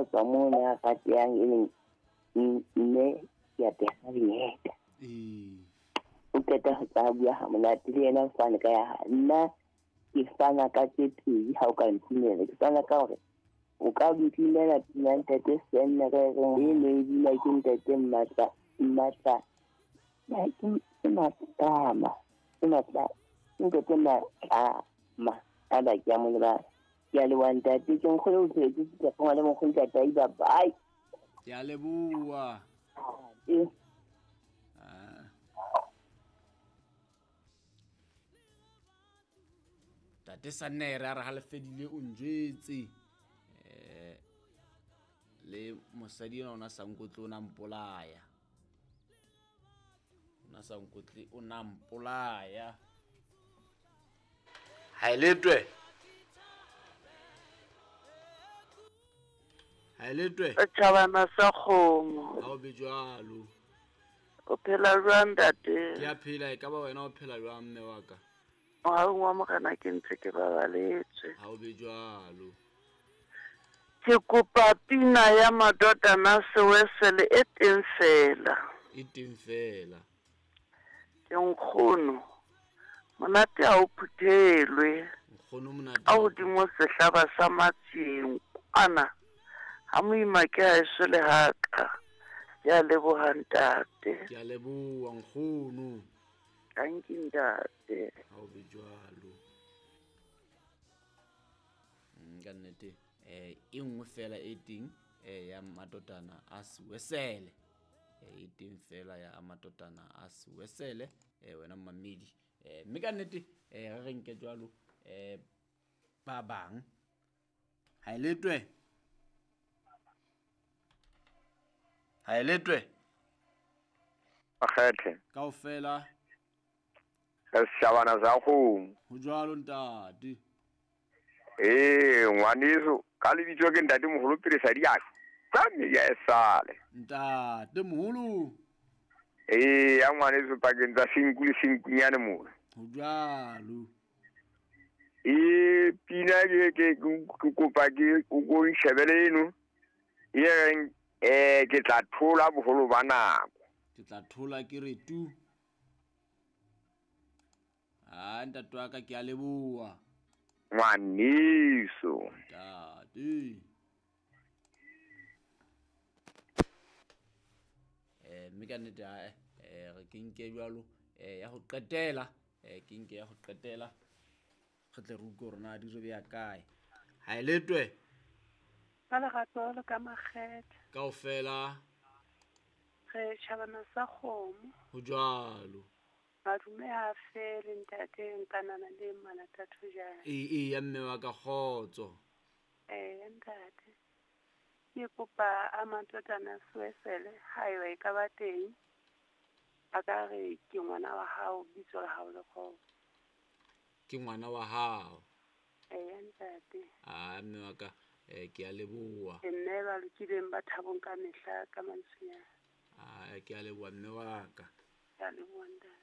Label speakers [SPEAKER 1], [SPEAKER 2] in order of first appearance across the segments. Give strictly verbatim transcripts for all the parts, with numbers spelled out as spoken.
[SPEAKER 1] ho tswa moo a ratehang e leng mme ke a pega dieta.
[SPEAKER 2] Ee.
[SPEAKER 1] O qeta ho tsa bua ha monate le yena o fane ka ya hae. Nna ke fana ka tse pedi ha o ka ntumela. Ke fana ka hore o ka ntumela pina ntate Senne re reng e ne e bina ke ntate Mmatla Mmatla ke Matlama ke Matla ntate Matlama a ba ke a mo lebala. Ke a leboha ntate, ke nkgolo o phetse ke tla le mokgolo ntate Aiba, bye.
[SPEAKER 2] Ke a leboha.
[SPEAKER 1] Ee.
[SPEAKER 2] Ah. Tate Sannere a re ha le fedile o njwetse. Eh le mosadi ena ona sa nkotle o na mpolaya. Ona sa nkotle o na mpolaya. Ha e letwe. Ha e letwe.
[SPEAKER 3] Tjhabana sa kgomo.
[SPEAKER 2] Ha o be jwalo.
[SPEAKER 3] O phela jwang ntate?
[SPEAKER 2] Ke a phela, e ka ba wena o phela jwang mme wa ka?
[SPEAKER 3] Mohaung wa Morena ke ntse ke babaletswe.
[SPEAKER 2] Ha o be jwalo.
[SPEAKER 3] Ke kopa pina ya Madodana Sewesele e teng fela.
[SPEAKER 2] E teng fela.
[SPEAKER 3] Ke nkgono. Monate ha o phuthelwe.
[SPEAKER 2] Nkgono monate.
[SPEAKER 3] A hodimo sehlaba sa matseng kwana. Ha moima ke ha eso le haka. Ke a leboha ntate.
[SPEAKER 2] Ke a leboha nkgono.
[SPEAKER 3] Thank you ntate.
[SPEAKER 2] Ha o be jwalo. Ka nnete eh e nngwe fela e teng eh ya Madodana a Sewesele. E teng fela ya Madodana a Sewesele eh wena mmamedi. Eh mme ka nnete eh re re nke jwalo eh ba bang. Ha e letwe. Ha e letwe.
[SPEAKER 4] Akgethe.
[SPEAKER 2] Kaofela.
[SPEAKER 4] Setjhabana sa kgomo.
[SPEAKER 2] Ho jwalo ntate.
[SPEAKER 4] Ee, ngwaneso, ka lebitso ke ntate moholo pele sa diaka. Ka mme ya esale.
[SPEAKER 2] Ntate moholo.
[SPEAKER 4] Ee, ya ngwaneso pakeng tsa senku le senkunyane mona.
[SPEAKER 2] Ho jwalo.
[SPEAKER 4] Ee, pina ke ke ke kopa ke o ko nshebele eno. E reng eh ke tla thola boholo ba nako.
[SPEAKER 2] Ke tla thola ke re tu. Ah, ntate wa ka ke a leboha.
[SPEAKER 4] Ngwaneso.
[SPEAKER 2] Ntate. Eh mme ka nnete ha eh re ke nke jwalo eh ya ho qetela eh ke nke ya ho qetela re tle re utlwe hore na di re beya kae. Ha e letwe.
[SPEAKER 5] Ka lerato le ka makgethe.
[SPEAKER 2] Kaofela.
[SPEAKER 5] Re tjhabana sa kgomo.
[SPEAKER 2] Ho jwalo.
[SPEAKER 5] Madume ha fele ntate nkanana le Malathatho jang.
[SPEAKER 2] Ee ee ya mme wa ka kgotso.
[SPEAKER 5] Eh ntate. Ke kopa a Madodana Sewesele haeba e ka ba teng. A ka re ke ngwana wa hao bitso la hao le kgomo.
[SPEAKER 2] Ke ngwana wa hao.
[SPEAKER 5] Eh ntate.
[SPEAKER 2] Ah mme wa ka eh ke a leboha.
[SPEAKER 5] Ke mme ba lokileng ba thabong ka mehla ka mantswenyana.
[SPEAKER 2] Ah ke a leboha mme wa ka.
[SPEAKER 5] Ke a leboha ntate.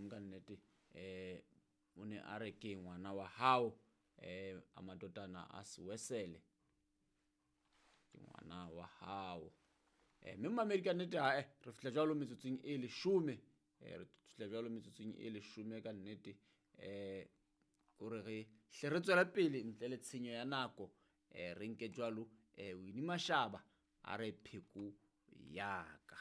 [SPEAKER 2] Ka nnete eh o ne a re ke ngwana wa hao eh a Madodana a Sewesele. Ke ngwana wa hao. Eh mme mamedi ka nnete ha eh re fihla jwalo metsotsong e leshome. Eh re fihla jwalo metsotsong e leshome ka nnete eh hore re hle re tswela pele ntle le tshenyo ya nako eh re nke jwalo eh Winnie Mashaba a re pheko yaka.